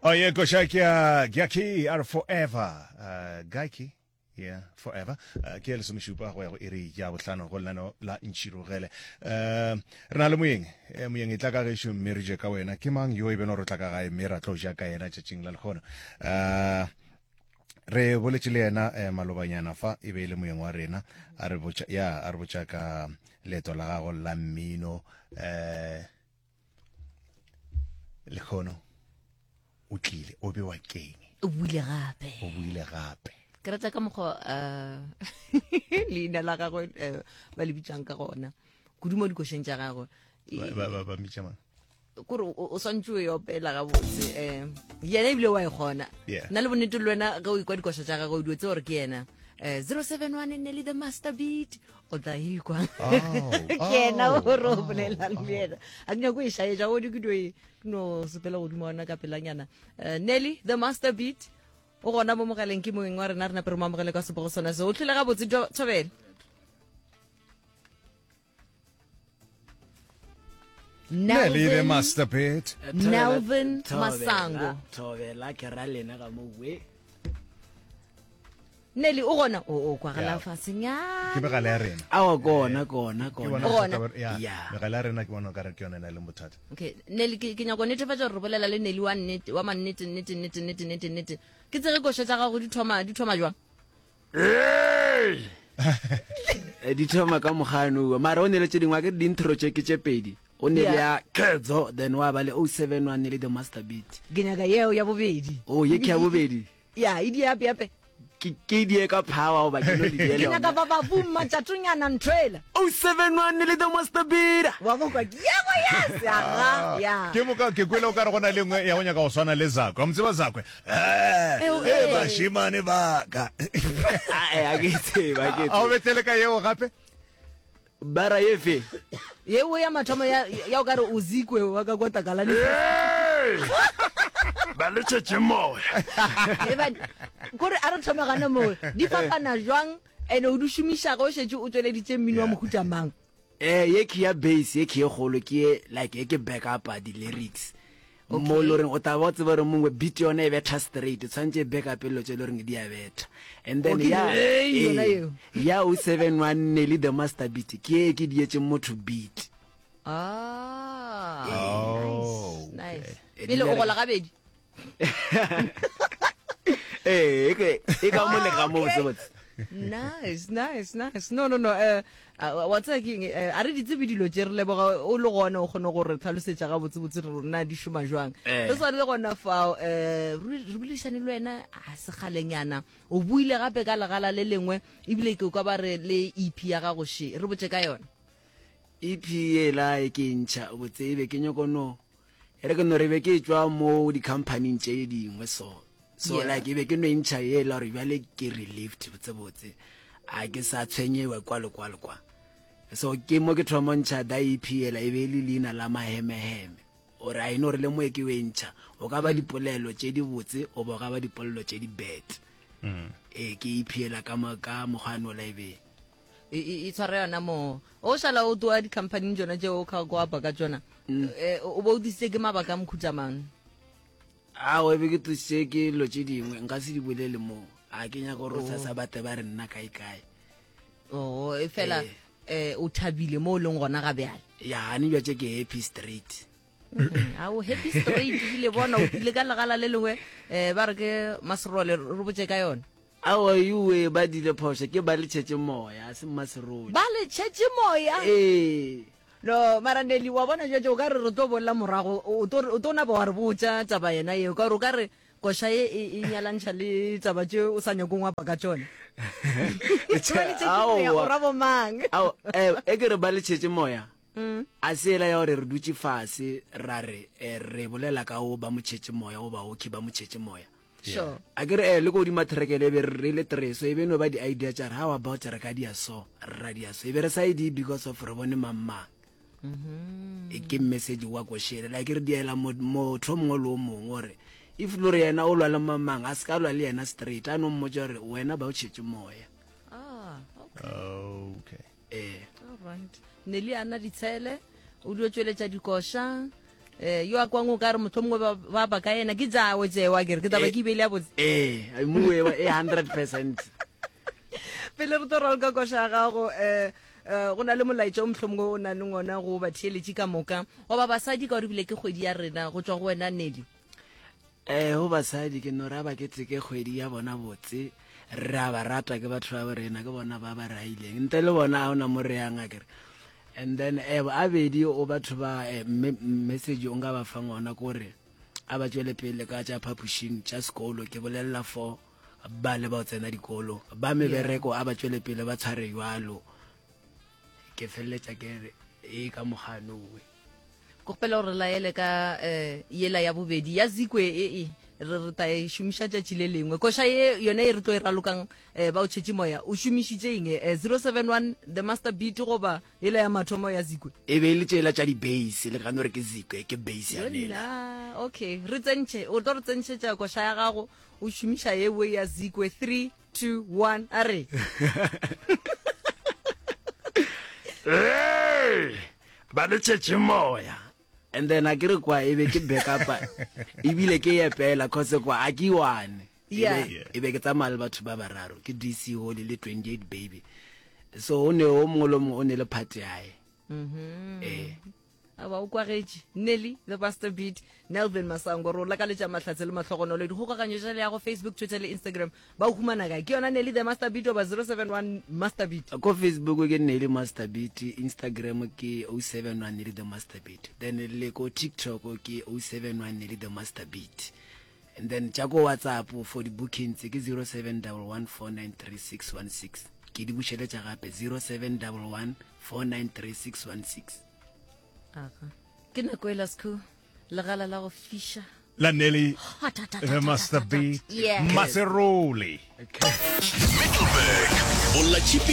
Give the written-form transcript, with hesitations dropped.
Oh yeah, koša ke ya Gyaki a re forever. Uh, Gyaki yeah forever uh, ke ya lesomešupa go ya go iri ya bohlano go lenaneo la ntšhirogele uh, re na le moyeng eh, moyeng e tla ka gešo mme re je ka wena ke mang yo e beno re tla ka gae mme ra tlo ja ka yena tšatšing la lekgono uh, re boletše le yena eh, malobanyana fa e be e le moyeng wa rena a re botša ya a re botša ka leeto la gago la mmino eh lekgono o tlile o bewa keng o buile gape o buile gape ke rata ka mokgwa um leina la gagwe eh, ba le bitsang ka gona kudu mo dikošeng tša gagwe ba mmitša mang kore o swantse o e opela gabotse um yena ebile wa e kgona nna le bonnete le wena ge o ikwa dikoša tša gagwe o dio tse gore ke yena um 071 ne le the master beat o tla ikwa oh, ke yena oh, o re o oh, bolelang le yena a ke nyako e šaetša o di ke dio e no sepela godimo ona ka pelanyana um nelly the master beat o gona mo mogaleng ke moeng wa rena re nape re mo amogele ka sepogo sona se o tlhole gabotse thobele Nelly the master beat Nelvin Masango thobela ke ra lena ga mo we Nelly o gona o o kwagala Yeah. fasenyana ke megala ya rena awa kona kona Ke kona bona Gona. bothata ba- ya, Yeah. megala ya rena ke bona o kare ke yone e na leng bothata okay Nelly ke ke nyako netefatša gore re bolela le Nelly wa nnete wa mannete nnete nnete nnete nnete nnete ke tsege koša tša gago di thoma di thoma jwang Eh, di thoma ka mogano mara o ne le tše dingwe a ke di-intro tše ke tše pedi o ne le ya kedzo then wa ba le 071 ne le the master beat ke nyaka yeo ya bobedi o ye ke ya bobedi ya e di ape ape ke ke die ka power goba ke no le ke nyaka ba ba bumma tšatonyana nthoela 071 ne le the master beat wa bokwa ke yebo yes aga ya ke moka ke kwele o ka re go na le nngwe ya go nyaka go swana le zakwe wa mo tseba zakwe Eh, Eh, eh, bašemane ba ka a ke tseba ke a o betlele ka yeo gape bara efe yeo ya mathomo ya ya o ka re o zikwe wa ka kwa takalane ba le tšhetše moya kore a re thome gana moo di fapana jwang ene o di šomiša ge o šetše o tšweleditše mmino wa mohuta mang Eh, ye ke ya bass ye ke ye kgolo ke ye like ye ke back up di lyrics mo le goreng o tla ba o tseba gore mongwe beat yone e betha straight tshwanetse e back up dilo tse e le goreng di a betha and then Okay, ya hey, yona eh, eo. ya o 71 Nelly the master beat ke ye ke dietse motho beat ah Oh, nice nice Eh, pele di o bereka. gola gabedi ee e ke- e ka mo le ka mo Okay. botse botse nice nice nice no no no eh wa tseba ke eng eh, a re di tsebe dilo tše re leboga o le gona o kgone go re tlhalosetša gabotsebotse re rona di šoma jwang Eh. re swane le gona fao um re boledišane le wena a sekgalenyana o buile gape ka legala le lengwe ebile ke kwa ba re le ep ya gago še re botse ka yona ep ela e ke ntšha botse e be ke nyoko no E re ke no re be ke tšwa mo di-companyng tše dingwe so so Yeah. like e be ke no e ntšha ela gore bjale ke relieved botsebotse a ke sa tshwenyewe kwa le kwa le kwa so ke mo ke thoma ntšha da ep ela e be e le leina la mahemeheme ore a eno gore le mo e ke o e ntšha o ka ba dipolelo tše di botse o ba o ka ba dipolelo tše di bad ee ke ep ela ka mo- ka mokgwa ola e be e, e, e tshwara yona moo o šala o toa di-companyng tsona tšeo o kga ko apa ka tsona mm. eh, o bo o disitse ke mabaka a mokhutsa mang ao e be ke tlositse ke dilo tše dingwe nka se di bolele moo a ke nyaka gore o sasa bate ba re nna kae kae oo e fela um o thabile mo o leng gona ga bjale ya ane jwa tše ke happy straight mm-hmm. a o happy straight ebile bona o tlile ka legala le lengwe um ba re ke maserole re botse ka yone Aowa yuwe ba dile phošo ke ba le tšhetše moya a se mmaserole. Ba le tšhetše moya? Ee. No mara Nelly wa bona jwetše o ka re re tlo bolela morago o tlo o tlo napa wa re botša taba yena yeo ka gore o ka re koša ye e, e nyalantšha le taba tše o sa nyakong wapa ka tšona. Ba le tšhetše moya o Aowa. ra bomang? Ao, eh, e ke re ba le tšhetše moya a se ela ya gore re dutše fase ra re eh, re bolela ka o ba mo tšhetše moya goba okay ba mo tšhetše moya Sure. A ke re eh le ko godima trekele e be re le three so e be no ba di-idea tša re how about re ka dia so ra dia so e be re sa e di because of re bone mang mang mm-hmm. e ke message wa košele like re diela motho o mongwe le o mongwe gore if lo re yena o lwa le mang mang a se ka lwa le yena straight a no mmotsa gore wena ba o tšhetše moya ah, okay. okay. eh all right ne le ana ditshele o dio tšweletša dikoša. Eh, yo a kwang o ka re motlho mongwe ba ba ba ka yena ke tsawe tsewa kere ke taba ke ibele ya botse ee moewa e 100 percent pele re tlo raloka koša ya gago um go na le molaetša o mohlomongwe o na le ngona go batheeletši ka moka goba basadi ka gore ebile ke kgwedi ya rena go tšwa go wena Nelly Eh go basadi ke no ra ba ke tseke kgwedi ya bona botse re a ba rata ke batho ba rena ke bona ba ba raileng ntle le bona a ona mo re yang akere and then eh abedi o batho ba eh, message o nka ba fang ona kore a ba tšwele pele ka tša phapošing tša sekolo ke bolelela for ba le ba tsena dikolo ba mebereko a ba tšwele pele ba tshware jwalo ke feleletša ke re e ka moganowe Ke kgopela gore laele ka um yela ya bobedi ya zikwe e e re re ta e šomiša tšatši le lengwe. Koša ye yone e re tlo e ralokang um ba o tšhetše moya o šomišitše eng? Um 071 the master beat goba yela ya mathomo ya zikwe? E be e le tšela tša di-bass le gano re ke zikwe ke bass ya nela. Okay, re tsentšhe o tlo re tsentšhetša koša ya gago o šomiša yewe ya zikwe 3 2 1 a re. Hey! Ba le tšhetše moya. And then a ke re kwa e be ke backupa ebile ke epela cause kwa a ke one. Yeah. E be ke tsamaya le batho ba bararo ke DC Holly le 28 baby. So o ne o mongwe le mongwe o ne le part yae. Mhm. Eh. A ba o kwagetše. Nelly the Buster Beat Nelvin Masango re o lakaletša mahlatse le mahlogonolo. Dikgokaganyo tša leago Facebook, Twitter le Instagram ba o humana kae? Ke yona Nelly the Master Beat goba 071 Master Beat? Ko Facebook ke Nelly Master Beat, Instagram ke 071 Nelly the Master Beat. Then le ko TikTok ke 071 Nelly the Master Beat. And then tša ko WhatsApp for di bookings ke 0711493616. Ke di bušeletša gape 0711493616. Aga. Ke nako e la sekhu legala la go fiša. La Nelly the Master Beat Yeah. Maserole. Middelburg, Bolla Tšhipi.